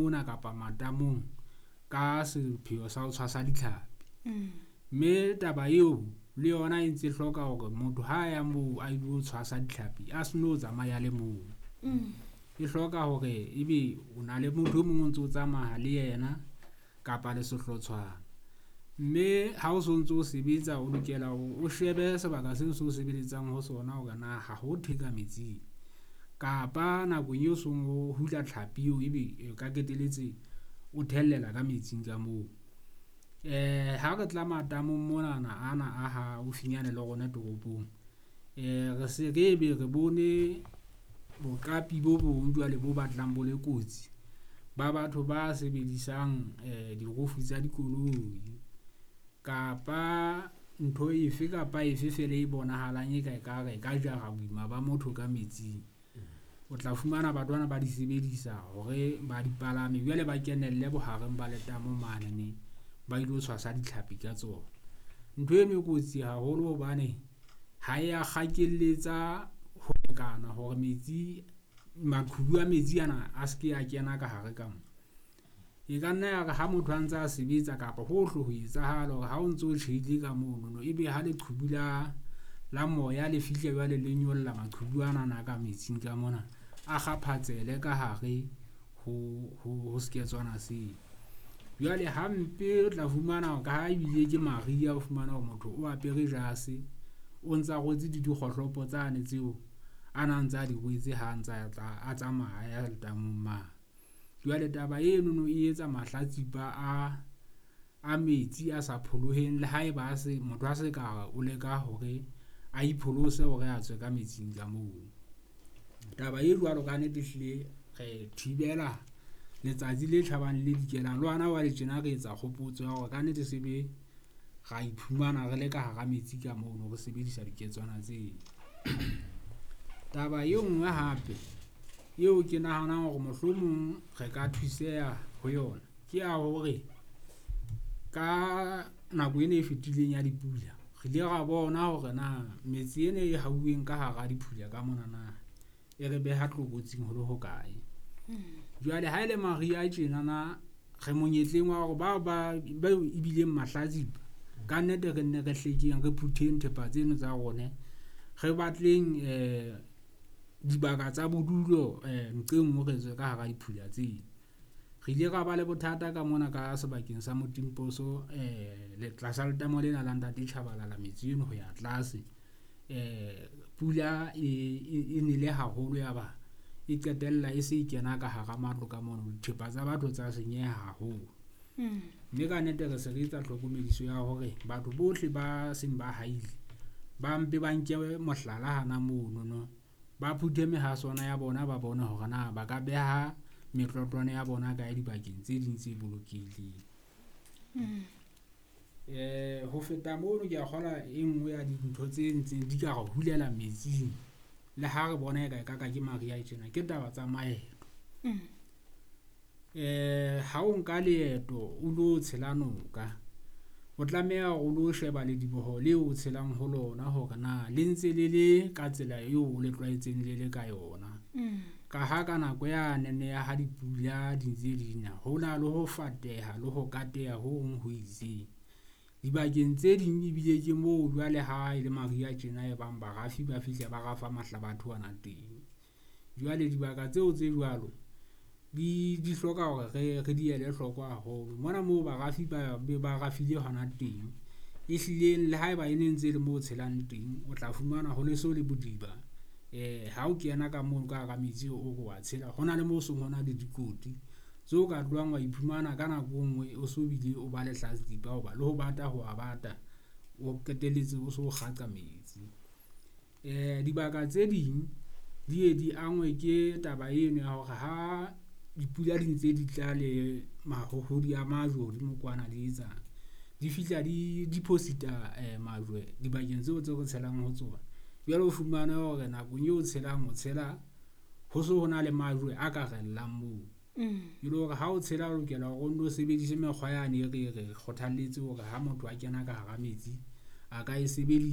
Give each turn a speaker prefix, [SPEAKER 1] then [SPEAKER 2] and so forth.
[SPEAKER 1] mona kapa matamong ka sepheo sa ho tshwasa ditlhapi. Mme taba eo le yona e ntse hloka hore motho ha ya moo a ilo tshwasa ditlhapi, a se no tsamaya a le mong. E hloka hore ebe o na le motho e mong o ntso tsamaya le yena kapa le sehlotshwana. Mme ha o sontso o sebetsa, o lokela hore o shebe sebaka seo se o sebeletsang ho sona hore na ha ho thwe ka metsing kapa nakong eo song o hula tlhapi eo ebe e ka qetelletse o thellela ka metsing ka moo. Ha re tla matamong monana ana a haufinyane le rona toropong, re se re be re bone boqapi bo bong jwale bo batlang bo le kotsi ba batho ba sebedisang dirofu tsa dikoloi kapa ntho efe kapa efe feela e bonahalang e ka ekare e ka jara boima ba motho ka metsing. O tla fumana batho bana ba di sebedisa hore ba di palame, jwale ba kenelle bohareng ba letamo manene ba ilo tshwasa ditlhapi ka tsona. Ntho eno e kotsi haholo hobane ha ya kgakelletsa ho lekana hore metsi, maqhubu a metsi ana a se ke a kena ka hare ka mo. E ka nna ya re ha motho a ntsa a sebetsa kapa hohle ho etsahala hore ha o ntso tjheile ka monono, ebe ha leqhubu la moya le fihle jwale le nyolla maqhubu anana ka metsing ka mona, a kgaphatsehele ka hare ho seketswana seo. Jwale hampe o tla fumana ka ha ebile ke mariha, o fumana hore motho o apere jase, o ntsa rwetse le dikgohlopo tsane tseo a na ntsa di rwetse ha a ntsa tla a tsamaya a ya letamong mane. Jwale taba enono e etsa mahlatsipa a metsi a sa pholoheng le haeba a se, motho a se ka o leka hore a ipholose hore a tswe ka metsing ka moo. Taba e jwalo kannete ehlile re thibela letsatsi le tjhabang le le dikelang. Le hona jwale tjena re etsa kgopotso ya hore kannete se be ra iphumana re le ka hara metsi ka mono, re sebedisa diketswana tseo. Taba e nngwe hape eo ke nahanang hore mohlomong re ka thuseha ho yona, ke ya hore ka nako ena e fetileng ya dipula, re ile ra bona hore na metse ena e hauweng ka hara diphula ka monana e re beha tlokotsing ho le hokae. Jwale ha e le mariha tjenana re monyetleng wa hore bao ba bao ebileng mahlatsipa, kannete re nne re hlekeng, re phutheng thepa tseno tsa rone. Re batleng dibaka tsa bodulo nqe nngwe re tswe ka hara diphula tseo. Re ile ra ba le bothata ka mona ka sebakeng sa Motimposo le tlasa letamo lena la Ntate Tshabalala metsi eno ho ya tlase. Pula e nele haholo ya ba e qetella e se e kena ka hara matlo ka mono, dithepa tsa batho tsa senyeha haholo. Mme kannete re se re etsa tlhokomediso ya hore batho bohle ba seng ba haile, ba mpe ba nke mohlala hana monono. Ba phuthe mehaswane ya bona, ba bone hore na ba ka beha metlotlwane ya bona kae dibakeng tse ding tse bolokehileng. Ho feta mono, ke a kgolwa e nngwe ya dintho tse ntseng di ka re hulela metsing le ha re bona eka ekaka ke mariha tjena, ke taba tsa maeto. Ha o nka leeto o lo tshela noka, o tlameha hore o lo sheba lediboho leo o tshelang ho lona hore na le ntse le le ka tsela eo o le tlwaetseng le le ka yona. Ka ha ka nako yanene ya ha dipula di ntse di na, ho na le ho fateha le ho kateha ho hong ho itseng. Dibakeng tse ding ebile ke moo jwale ha e le mariha tjena e bang barafi ba fihla ba rafa mahlabathe ona teng. Jwale dibaka tseo tse jwalo di hloka hore re di ele hloko haholo. Mona moo barafi ba be ba rafile hona teng, ehlileng le haeba e ne ntse e le moo o tshelang teng, o tla fumana ho le so le bodiba. Ha o kena ka mono ka hara metsi o re wa tshela, ho na le moo seng ho na le dikoti tseo ka tlohang wa iphumana ka nako e nngwe o so bile o ba lehlatsipa hoba le ho bata ho a bata, o qetelletse o so kgaqa metsi. Dibaka tse ding di ye di angwe ke taba eno ya hore ha dipula di ntse di tla le mahohodi a majwe hodimo kwana di etsang, di fihla di deposit-a majwe dibakeng tseo tse re tshelang ho tsona. Jwale o fumane hore nakong eo o tshelang, o tshela ho so ho na le majwe a ka rellang moo. E le hore ha o tshela o lokela hore o nno sebedise mekgwa yane e re kgothalletse hore ha motho a kena ka hara metsi a ka e sebedisa.